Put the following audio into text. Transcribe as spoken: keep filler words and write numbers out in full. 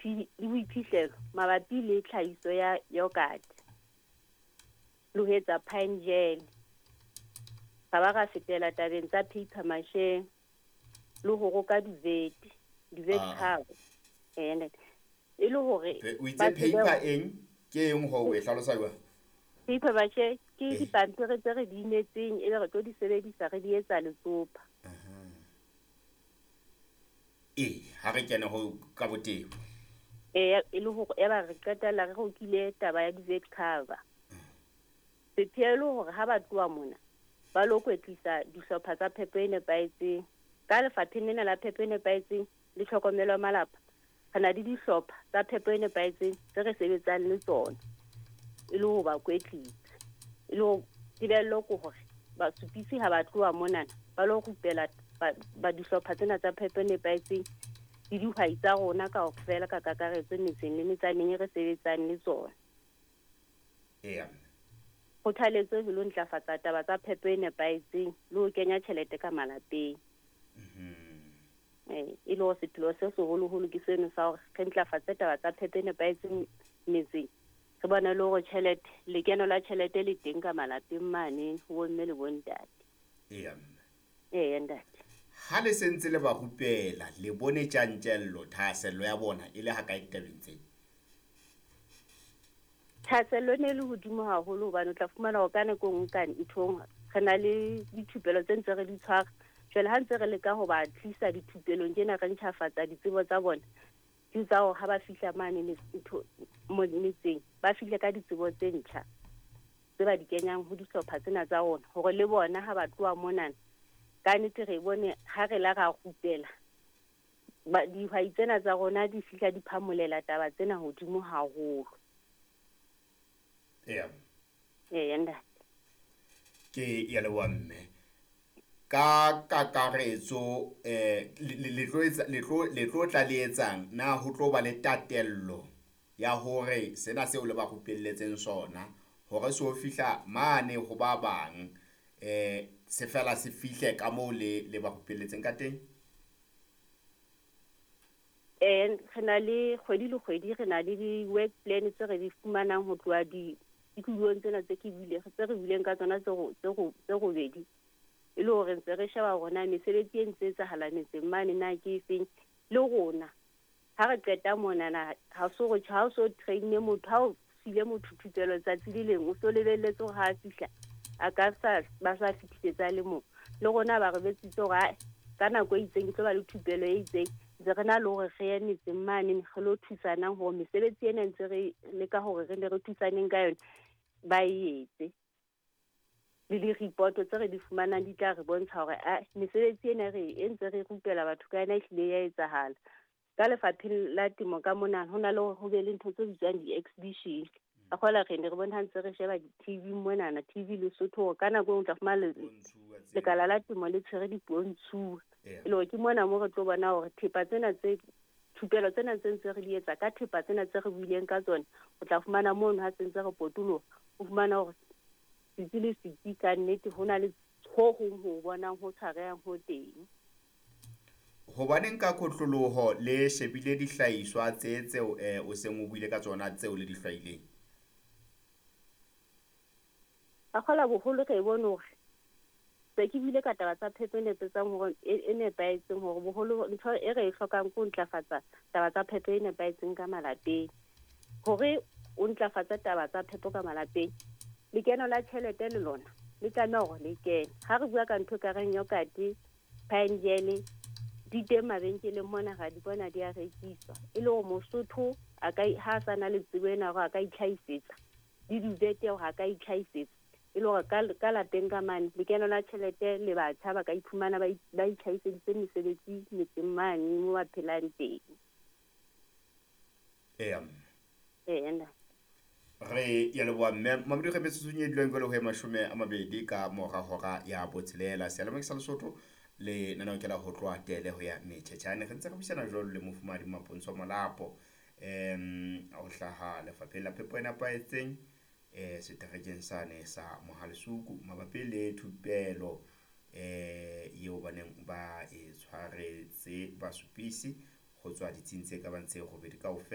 le boiphihlelo mabapi le tlhahiso ya yogurt le ho etsa pine gel. Ra ba ra fetela tabeng tsa paper maché le ho roka duvet, duvet cover. Eh, e le hore o itse paper eng ke eng ho e hlalosa jwang? Paper maché ke dipampiri tse re di inetseng e be re tlo di sebedisa re di etsa letsopa. Eh, ha re kene ho ka botebo. Eh, e le hore e ba re qetella re rokile taba ya duvet cover. Sepheo le hore ha ba tloha mona ba lo kwetlisa dihlopha tsa phepo e nepahetseng. Ka lefapheng lena la phepo e nepahetseng le tlhokomelo ya malapa, re na le dihlopha tsa phepo e nepahetseng tse re sebetsang le tsona e le ho ba kwetlisa. E le ho tebello ke hore basupisi ha ba tloha monana ba lo rupela ba, ba dihlopha tsena tsa phepo e nepahetseng le dihwai tsa rona kaofela ka kakaretso metseng le metsaneng e re sebetsang le tsona. Eya. Kgothaletso e lo ntlafatsa taba tsa phepo e nepahetseng le ho kenya tjhelete ka malapeng. Mm-hmm. Eh, e le hore sepheo se seholoholo ke seno sa hore re ntlafatse taba tsa phepo e nepahetseng metseng. Re bone le hore tjhelete, lekeno la tjhelete le teng ka malapeng mane ho bomme le bontate. Eya. Eya, ntate. Ha le sentse le ba rupela, le bone tjantjello, thahasello ya bona e le ha kae ditabeng tse? Thahasello e ne le hodimo haholo hobane o tla fumana hore ka nako e nngwe ka nthong re na le dithupelo tse ntse re di tshwara. Jwale ha ntse re leka ho ba tlisa dithupelong tjena re ntjhafatsa ditsebo tsa bona, ke tsa hore ha ba fihla mane ntho metseng ba fihle ka ditsebo tse ntjha tse ba di kenyang ho dihlopha tsena tsa rona hore le bona ha ba tloha monana ka nnete re bone ha re la ra rupela ba dihwai tsena tsa rona di fihla di phamolela taba tsena hodimo haholo. Eya. Eya, ntate. Ke ya leboha mme. Ka kakaretso eh le tlo etsa le tlo le tlo tla le etsang na ho tlo ba le tatello ya hore sena seo le ba rupelletseng sona hore se o fihla mane ho ba bang eh se fela se fihle ka moo le le ba rupelletseng ka teng? Eh, re na le kgwedi le kgwedi re na le di-work plan tse re di fumanang ho tloha di ditulong tsena tse ke buile tse re buileng ka tsona tse tse tse robedi. E le hore ntse re sheba hore na mesebetsi e ntse etsahala metseng mane na ke efeng le rona ha re qeta monana ha so re ha o so train-e motho ha o file motho thupelo tsatsi le leng o so lebelletse hore ha a fihla a ka sa ba sa fetisetsa le mong. Le rona ba re betsitse hore ha ka nako e itseng ke tlo ba le thupelo e itseng ntse re na le hore re ye metseng mane re lo thusanang hore mesebetsi ena ntse re leka hore re ne re thusaneng ka yona ba e etse. Le di-report tse re di fumanang di tla re bontsha hore a mesebetsi ena re e ntse re rupela batho ka yona ehlile ya etsahala. Ka lefapheng la temo ka mona ho na le hore ho be le ntho tse bitswang di-exhibition. Ka kgola re ne re bone ha ntse re sheba di-T V monana, T V Lesotho hore ka nako e nngwe o tla fumana lekala la temo le tshwere dipontshuwa. E le hore ke mona moo re tlo bona hore thepa tsena tse thupelo tsena tse ntse re di etsa ka thepa tsena tse re buileng ka tsona, o tla fumana mono ha se ntse re potoloha, o fumana hore setsi le setsi ka nnete ho na le ho hong ho bonang ho tshwarehang ho teng. Hobaneng ka kotloloho le shebile dihlahiswa tse tseo eh o seng o buile ka tsona tseo le di hlwaileng? Ka kgola boholo re bone hore se ke buile ka taba tsa phepo e nepetsang hore e nepahetseng hore boholo ntho e re e hlokang ke ho ntlafatsa taba tsa phepo e nepahetseng ka malapeng. Hore o ntlafatse taba tsa phepo ka malapeng, lekeno la tjhelete le lona le tlameha hore le kene. Ha re bua ka ntho e ka reng yogurt, pine gel, di teng mabenkeleng mona ra di bona di a rekiswa. E le hore Mosotho a ka ha a sa na le tsebo ena hore a ka itlhahisetsa, le duvet hore a ka itlhahisetsa. E le hore ka ka lapeng ka mane lekeno la tjhelete le batjha ba ka iphumana ba ba itlhahiseditse mesebetsi metseng mane mo ba phelang teng. Eya. Eya. Re ya leboha mme Mamedi re metsotsong e duleng jwale ho e mashome a mabedi ka mora hora ya botshelela. Seyalemoya sa Lesotho le nanao ke la ho tloha tele ho ya metjhetjhane. Re ntse re buisana jwalo le mofumahadi Mapontsho Molapo em ho hlaha lefapheng la phepo e nepahetseng eh seterekeng sane sa Mohalesuku mabapi le thupelo eh eo ba neng ba e tshwaretse basupisi ho tswa ditsing tse ka bang tse robedi kaofela.